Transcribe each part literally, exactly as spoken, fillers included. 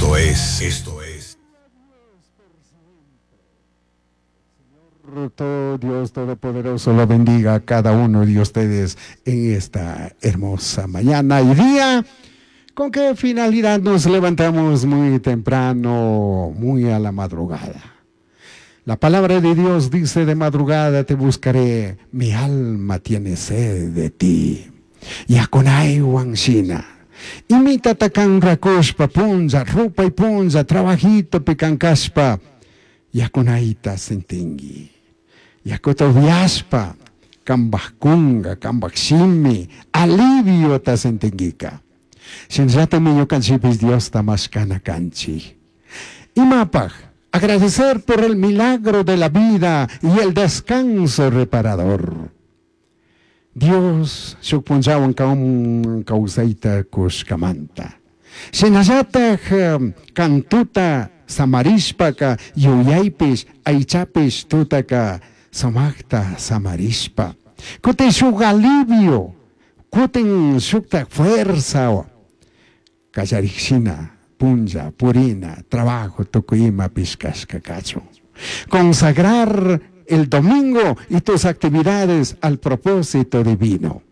Esto es, esto es. Todo Dios Todopoderoso lo bendiga a cada uno de ustedes en esta hermosa mañana y día. ¿Con qué finalidad nos levantamos muy temprano, muy a la madrugada? La palabra de Dios dice: de madrugada te buscaré, mi alma tiene sed de ti. Yakunaywan shina. Imitata kan rakushpa punlla, rupay punlla, trabajito pikankashpa, yakunayta sintingi. Yakuta upiashpa, kambaj kunga, kambaj shimi, aliviota sintinguika. Shinallatami ñukanchikpish Diosta mashkana kanchik. Imapaj, agradecer por el milagro de la vida y el descanso reparador. Dios shuk punllawan kaun kawsayta kushkamanta. Shinallataj kantuta samarishpaka yuyaypish aychapish tutaka samakta samarishpa. Kutin shuk alivio, kutin shukta fuerza kallarikshina punlla, purina, trabajo, tukuy imapish kashka kachun. Consagrar el domingo y tus actividades al propósito divino.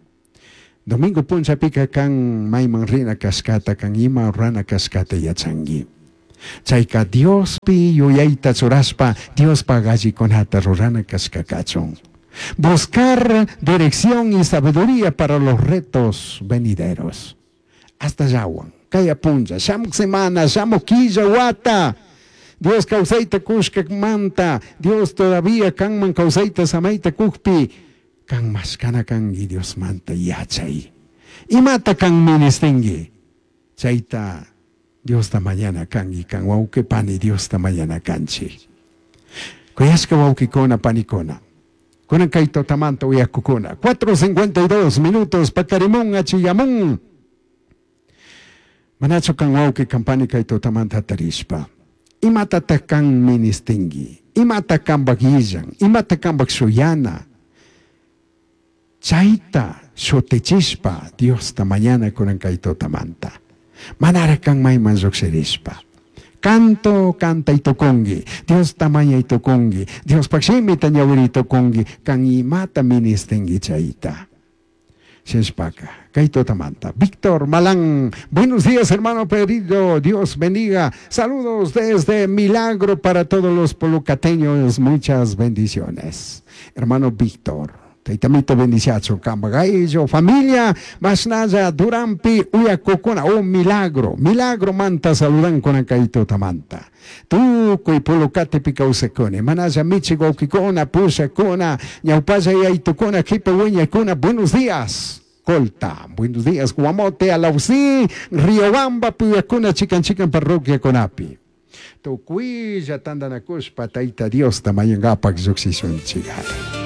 Domingo punllapika kan mayman rina kashkata, kan ima rurana kashkata yachangi. Chayka Diospi yuyayta churashpa, Diospaj allikunata rurana kashka kachun. Buscar dirección y sabiduría para los retos venideros. Hasta yawan, kaya punlla, shamuk semana, shamuk quilla wata. Dios kawsayta kushkamanta, Dios todavía kanman kawsayta samayta kukpi, kan mashkana kangi Dios manta yachay. Imata kan ministingi, chayta Dios ta mañana kangi, kan wawqi pani Dios ta mañana kanchi. Kuyashka wawqikuna panikuna. Kunan kay tutamanta uyakukuna. cuatro cincuenta y dos minutos pakarimun achiyamun. Manachu kan wawqi kan pani kay tutamanta tarishpa. Imata kan ministingi, imata kan bagillan, imata kan bagsuyana. Chayta shutichispa Dios ta mañana kunan kay tutamanta. Manara kan mayman lluqshirishpa. Canto, canta y tocongi. Dios tamaña y tocongi. Dios paximi tañawiri y tocongi. Kan imata ministingi chayta. Sheshpaka, Kaito Tamanta. Víctor Malán, buenos días, hermano pedido. Dios bendiga. Saludos desde Milagro para todos los polucateños. Muchas bendiciones. Hermano Víctor. Taitamito bendiciacho, Kambagaillo, familia, Masnaya, Durampi, Uyacocona, oh milagro, milagro manta saludan con Kaito Tamanta. Tukuy Polucate picausekone, Manaya Michigo Kikona, Pusha Kona, Ñaupaya y Aitocona, Kipehueña Cona, buenos días. Colta, buenos días, Guamote, Alausí, Riobamba, Puyacona, Chican Chican, Parroquia Conapi. Tukuy, Yatandanacushpa, Taita Dios, Tamayangapak, Yuxishun, Chigale.